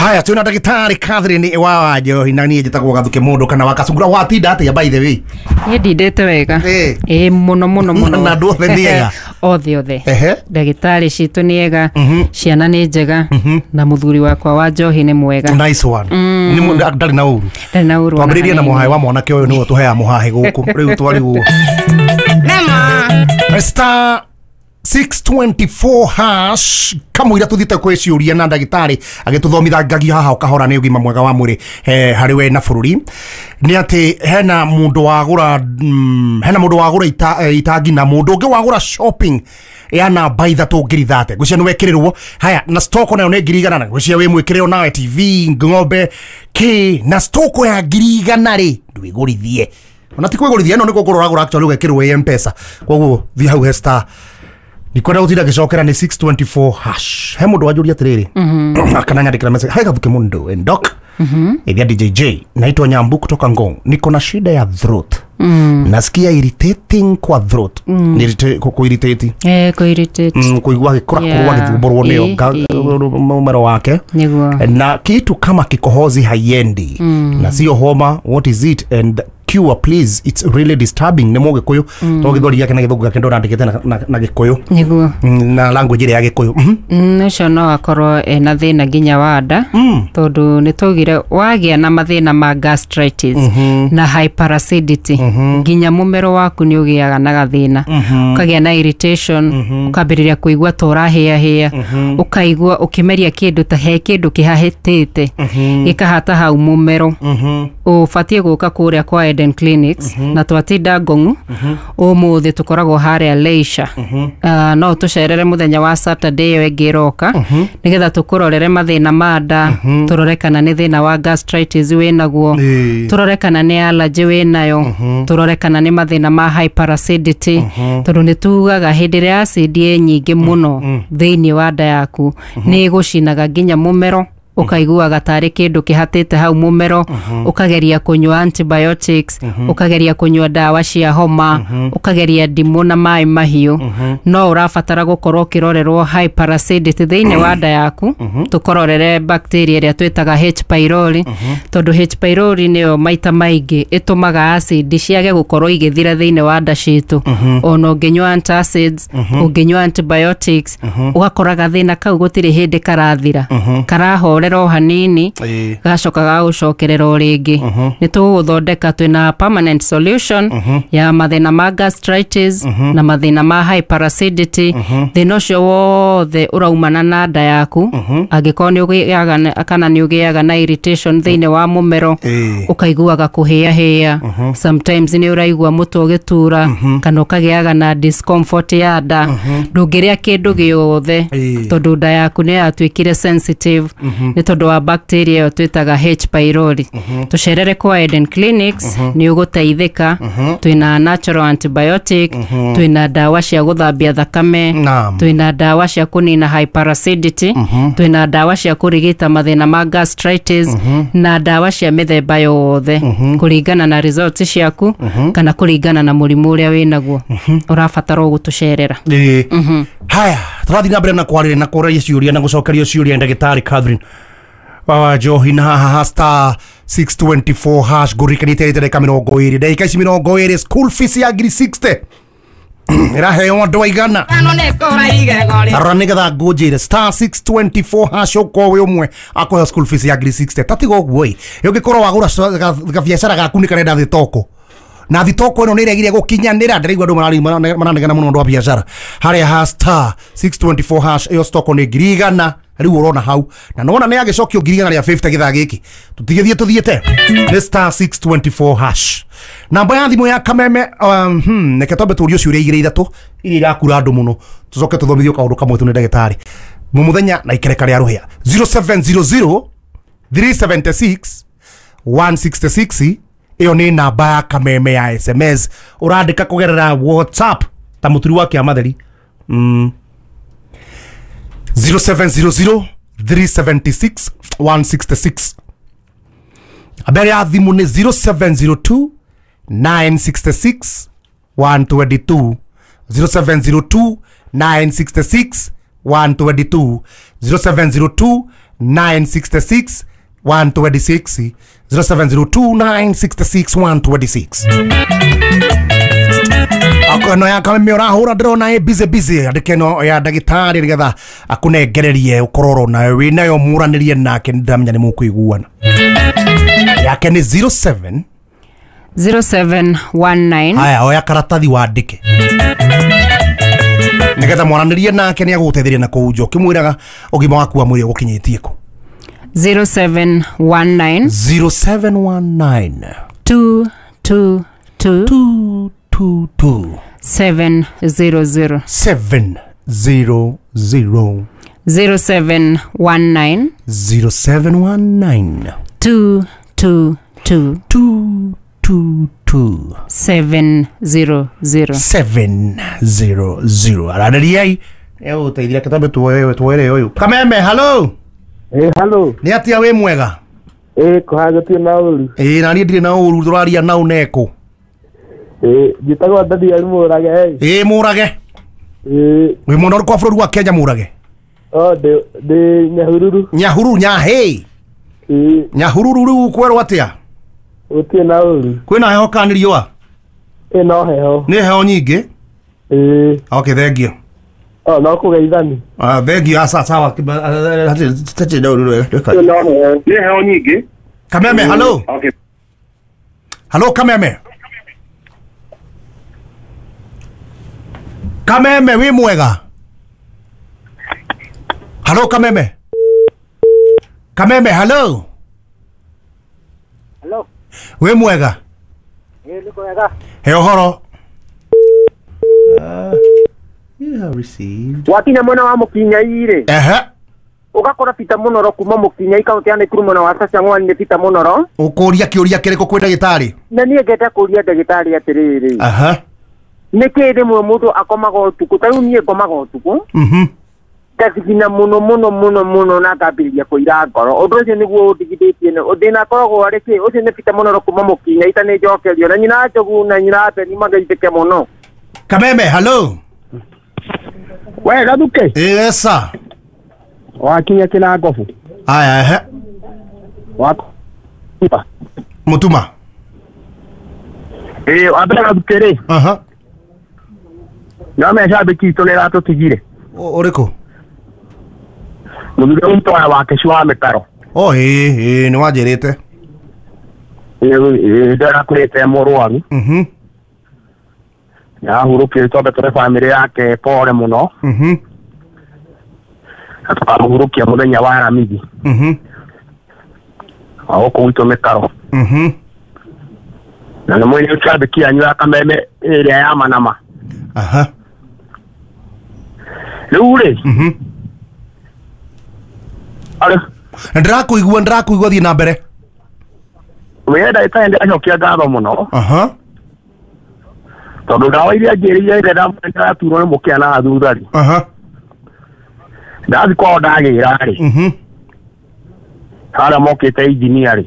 Haya twina ndagĩtarĩ Catherine wa Wanjohi na niĩ njĩtagwo Gathuke Mũndũ kana wa Kacungura. Watinda atĩa by the way? Niĩ ndindĩte wega. Ĩĩ mũno mũno mũno. Na andũ othe nĩ ega? Othe othe. Ehe. Ndagĩtarĩ citũ nĩ ega, ciana nĩ njega, na mũthuri wakwa wa Njohi nĩ mwega. Nice one. Nĩ ndarĩ na ũru? Ndarĩ na ũru ona Twambĩrĩrie na hanini. mũhaĩ wa mwanake ũyũ nĩwe tũheaga mũhaĩ gũkũ rĩu twarigwo. Star 624 hash kamũira tũthiĩte kwĩ ciũria na ndagĩtarĩ agĩtũthomithangagia haha ũkahora nĩ ũgima mwega wa mwĩrĩ harĩ we na bũrũri. Nĩ atĩ hena mũndũ wagũra hena mũndũ wagũra itangi na mũndũ ũngĩ wagũra shopping ya namba ithatũ 30,000 ngwĩciria nĩ wekĩrĩrwo. Haya na stock nayo nĩ 100,000 na ngwĩciria wĩ mwĩkĩrĩrwo nawe TV ng'ombe kĩ na stock ya 100,000 rĩ ndwĩgũrithie ona ti kwĩgũrithia ĩno nĩ kũgũra ũragũra actually ũgekĩrwo ĩ M-Pesa. Koguo thiĩ hau he star ndikwenda gũtinda ngĩcokera nĩ 624 hash. He mũndũ wanjũria atĩrĩrĩ kana nyandĩkĩra message, hai Gathuke Mũndũ and doc ithia DJJ, naitwa Nyambu kutoka Ngong, niko na shida ya throat, nasikia irritating kwa throat. Ku irritate. Kũ irritate. Kuigua gĩkũra kũrũa gĩthumbũrwo nĩyo mũmero wake. Nĩguo. Na kitu kama kikohozi haiendi na sio homa, what is it and cure please, it's really disturbing. Nĩ mũgĩkũyũ to gĩthweri gĩake na gĩthũngũ gĩake ndonandĩkĩte na gĩkũyũ. Nĩguo. Na language ĩrĩa ya gĩkũyũ. Ũcio no akorwo ena thĩna nginya wa nda, tondũ nĩ twaugire wagĩa na mathĩna ma gastritis na hyperacidity nginya mũmero waku nĩ ũgĩaga na gathĩna, ũkagĩa na irritation, ũkambĩrĩria kũigua ta ũrahĩahĩa, ũkaigua ũkĩmeria kĩndũ ta he kĩndũ kĩhahĩtĩte gĩkahata hau mũmero. Ũbatiĩ gũka kũrĩa kwa Eden Clinics na twatinda Ngong'u. Ũmũthĩ tũkoragwo harĩa Leisure. No tũcerere mũthenya wa Saturday ĩyo ĩngĩ ĩroka nĩgetha tũkũrorere mathĩna ma nda, tũrore kana nĩ thĩna wa gastritis wĩnaguo, tũrore kana nĩ allergy wĩnayo, tũrore kana nĩ mathĩna ma hyperacidity, tondũ nĩ tugaga hĩndĩ ĩrĩa acid ĩ nyingĩ mũno thĩinĩ wa nda yaku nĩ ĩgũcinaga nginya mũmero, ũkaiguaga tarĩ kĩndũ kĩhatĩte hau mũmero, ũkageria kũnyua antibiotics, ũkageria kũnyua ndawa cia homa, ũkageria ndimũ na maĩ mahiũ, no ũrabatara gũkorwo ũkĩrorerwo hyperacidity thĩinĩ wa nda yaku, tũkũrorere bacteria ĩrĩa twĩtaga H pylori, tondũ H pylori nĩyo maita maingĩ ĩtũmaga acid ciage gũkorwo igĩthira thĩinĩ wa nda citũ. Ona ũngĩnyua antacids, ũngĩnyua antibiotics, ũgakora gathĩna kau gũtirĩ hĩndĩ karathira, karahorera o hanini, gacoka gagũcokerera o rĩngĩ. Nĩ tũgũgũthondeka twĩna permanent solution ya mathĩna ma gastritis na mathĩna ma hyperacidity. Thĩna ũcio wothe ũraumana na nda yaku, angĩkorwo nĩ ũgĩaga kana nĩ ũgĩaga na irritation thĩinĩ wa mũmero, ũkaiguaga kũhĩahĩa, sometimes nĩ ũraigua mũtwe ũgĩtura, kana ũkagĩaga na discomfort ya nda, ndũngĩrĩa kĩndũ gĩothe tondũ nda yaku nĩ yatuĩkire sensitive nĩ tondũ wa bacteria ĩyo twĩtaga H pylori. Tũcerere kwa Eden Clinics, nĩ ũgũteithĩka. Twĩna natural antibiotic, twĩna ndawa cia gũthambia thakame, twĩna ndawa cia kũnina hyperacidity, twĩna ndawa cia kũrigita mathĩna ma gastritis, na ndawa cia mĩthemba yothe kũringana na results ciaku kana kũringana na mũrimũ ũrĩa wĩnaguo. Ũrabatara gũtũcerera. Haya tũrathiĩ na mbere na kwarĩria na kũraria ciũria na gũcokerio ciũria ndagĩtarĩ Catherine wa Njohi na haha star 624 hash ngũririkanĩte ndagĩka 20 ndagĩka ici 20 school fees ya 60,000 ĩraheo andũ aigana. Rora nĩgetha ngũnjĩre star 624 hash ũkorwo wĩ ũmwe akũheo school fees ya 60,000. Tatiga ũguo ĩ ũngĩkorwo wagũra gabiacara gaku nĩ karenda thitoko na thitoko ĩno nĩ ĩregire gũkinyanĩra, ndĩraigua andũ maranegena mũno ũndũ wa biacara harĩa ha star 624 hash ĩyo stoko nĩ 100,000 rĩu ũrona hau na nĩwona nĩ agĩcokio 100,050 gĩthaa gĩkĩ tũtigĩthiĩ tũthiĩte nĩ star 624 hash. Namba ya thimũ ya Kameme reke twambe tũrio ciũria igĩrĩ ithatũ iria irakura andũ mũno tũcoke tũthomithio kaũndũ kamwe tu nĩ ndagĩtarĩ mũmũthenya na ikereka rĩa rũhĩa. 0700 376 166 ĩyo nĩ namba ya Kameme ya SMS ũrandĩka kũgerera WhatsApp ta mũturi wa kĩamatheri. 0700 376 166. Habari ya thimũ nĩ 0702 966 122, 0702 966 122, 0702 966 126 0702 966 126. Akono ya kameme urahura ndĩrona ĩ busy busy, andĩke no ya ndagĩtarĩ nĩgetha akũnengererie ũkorwo nayo wĩ nayo mũranĩrie nake, nĩndĩramenya nĩ mũkũiguana. Yake nĩ 07 0719. Haya, oya karatathi wandĩke nĩgetha mwaranĩrie nake, nĩ agũgũteithĩria na kũu nja ũkĩmwĩraga ũgima waku wa mwĩrĩ ũgũkinyĩtie kũ. 0719 0719 222 222 700. 700. 0719 0719 222 222 700. 700. Aranĩriai egũgũteithia kĩtambe tuoere ũyũ. Kameme, hello. Hello. Nĩ atĩa, wĩ mwega? Kũhagĩtie na ũru. Ĩĩ, na niĩ ndirĩ na ũru, tũraria nau neko. Njĩtagwo Daniel Mũrage. Ĩĩ, Mũrage. Wĩ mwena ũrĩkũ wa bũrũri wa Kenya, Mũrage? Ndĩ Nyahururu. Nyahururu, Nyahĩ. Nyahururu rĩu kwerwo atĩa? Gũtirĩ na ũru. Kwĩna heho kana nĩ riũa? No heho. Nĩ heho nyingĩ? Okay, thank you. No kũgeithani. Thank you. Asa sawa. No heho. Nĩ heho nyingĩ. Kameme, hello. Okay. Hello, Kameme. Kameme, wĩ mwega? Hello, Kameme. Kameme, hello. Hello. Wĩ mwega? Nĩ kwega. He ũhoro. You have received. Wakinya mwena wa Mũkinyai rĩ. Ehe. Ũgakora Peter Mũnoro kuma Mũkinyai kaunti ya Nakuru mwena wa Sachang'wani nĩ Peter Mũnoro. Ũkũria kĩũria kĩrĩkũ kwĩ ndagĩtarĩ? Na niĩ ngenda kũria ndagĩtarĩ atĩrĩrĩ. Aha. Nĩkĩ rĩmwe mũndũ akomaga ũtukũ, ta rĩu niĩ ngomaga ũtukũ. Ngathigina mũno mũno mũno mũno na ngambĩrĩria kũira ngoro. Ũndũ ũcio nĩguo ũndigithĩtie, thĩna akoragwo arĩ kĩ? Ũcio nĩ Peter Mũnoro kuma Mũkinyai, ta nĩ njokerio na nyina Njogu na nyina Beni magaithĩke mũno. Kameme, hello. We Gathuke. Yes sir. Wakinya kĩnangobu. Aya, ehe. Mũtuma. Wambere Gathuke rĩ. Aha. No mecambĩki itũ nĩ ĩratũtigire. Ũrĩkũ? Mũthuri witũ wa Wakeci wa mĩtaro. Ĩĩ, nĩ wanjĩrĩte. Ndĩrakũrĩte mũrwaru. Nĩahurũkire, twambe tũre bamĩrĩ yake pole mũno. Na tũkamũhurũkia mũthenya wa Aramithi. Wa gũkũ gwitũ mĩtaro. Na nĩ mwene cambĩki yanyu ya Kameme ĩrĩa ya Manama. Aha. Rĩu rĩ. Ndĩrakũigua, thiĩ na mbere. We ndagĩtarĩ ndĩracokia ngatho mũno. Aha. Tondũ ndawa iria njĩrĩire ĩrĩa ndĩraturwo nĩ mũkĩa na thutha rĩ. Aha. Ndathi kwao ndagĩra rĩ. Harĩa mokĩte engineer rĩ.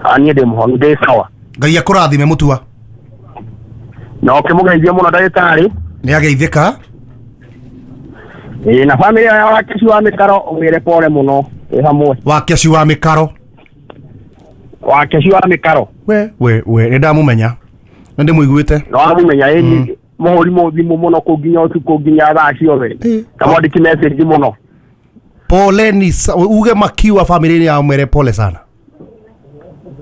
Niĩ ndĩ mũhonu, ndĩ sawa. Ngai akũrathime Mũtua. Na ũkĩmũgeithie mũno ndagĩtarĩ. Nĩ ageithĩka. Na bamĩrĩ ya Wakeci wa mĩkaro ũmĩre pole mũno ĩ hamwe. Wakeci wa mĩkaro. Wakeci wa mĩkaro. We nĩ ndamũmenya. Nĩ ndĩmũiguĩte. No amũmenya ĩ mũhũri mũthimũ mũno kũ nginya ũtukũ nginya thaa ciothe. Ta mwandĩki message mũno. Poleni, uge makiwa family ya mwere pole sana.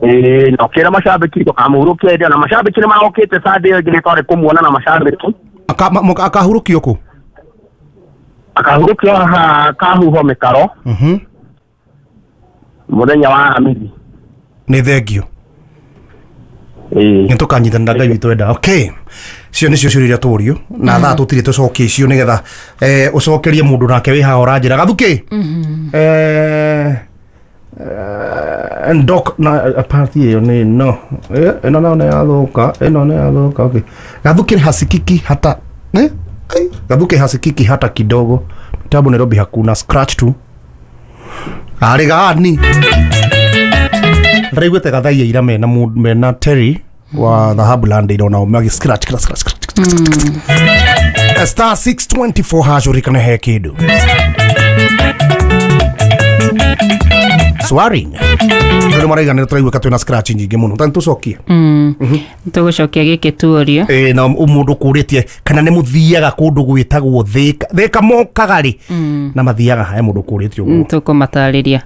Na ũkĩra macambĩki tũkamũhurũkia hĩndĩ ĩyo, na macambĩki nĩ marokĩte Sunday ĩyo ĩngĩ nĩ twarĩ kũmuona na macambĩki. Akahurũkio kũ? Akahurũkio haha Kahuho mĩkaro. Mũthenya wa Aramithi. Nĩ thengio. Nĩ tũkanyitanĩra Ngai witũ enda. Okay. Cio nĩcio ciũria iria tũrio na thaa tũtirĩ tũcokie icio nĩgetha ũcokerie mũndũ nake wĩ haha ũranjĩra Gathuke. Ndok na party ĩyo nĩ no ĩno nayo nĩ yathũka, ĩno nĩ yathũka. Okay. Gathuke hasikiki hata Gathuke hasikiki hata kidogo. Mtambo Nairobi hakuna scratch tu. Arĩ gani ndĩraiguĩte Gathaia ira mena Terry wa Dhahabu Land irona magi scratch scratch scratch. Star 624 hash urikane he kĩndũ. Swearing. Ndio maraiga nĩ tũraigua twĩna scratch nyingĩ mũno. Ta nĩtũcokie. Tũgũcokia gĩkĩ tuorio. Ĩ na mũndũ kũrĩtie kana nĩ mũthiaga kũndũ gwĩtagwo Thĩka. Thĩka mokaga rĩ na mathiaga he mũndũ kũrĩtie ũguo. Tũkũmatarĩria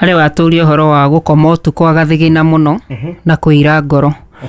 harĩ watũria ũhoro wa gũkoma ũtukũ agathigina mũno na kũira ngoro.